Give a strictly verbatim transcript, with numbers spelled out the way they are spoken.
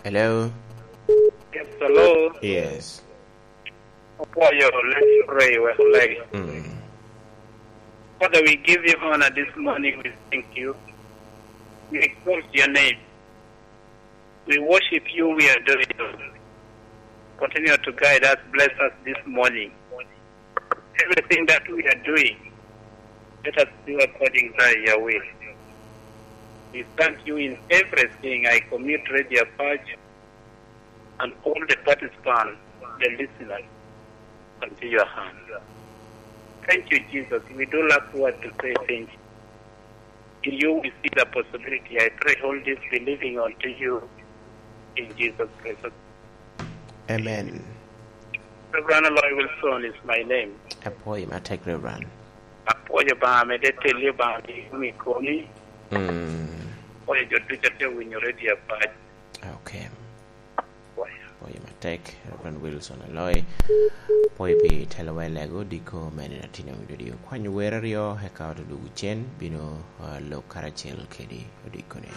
Hello? Yes, hello. Yes. Apwoyo lek rey wek lek. Mm. Father, we give you honor this morning. We thank you. We exalt your name. We worship you. We adore you. Continue to guide us, bless us this morning. Everything that we are doing, let us do according to your will. We thank you in everything. I commit Radio Apac and all the participants, the listeners, unto your hand. Thank you, Jesus. We do lack word to say thank you. In you we see the possibility. I pray all this believing unto you in Jesus Christ. Amen. Reverend Aloy Wilson is my name. Apwoyo matek, Reverend. Apwoyo Obaŋa, mede teli Obaŋa, mi komi. Mm. Apwoyo jo ducu a tye winyo Radio Apac. Okay. Apwoyo. Apwoyo matek, Reverend Wilson Aloy. Apwoyo pi telowa i lego, diko me nino a tin omido di okwanyo wer aryo, eka oto dwogo cen, bino, ah, lok karacel kedi odikone.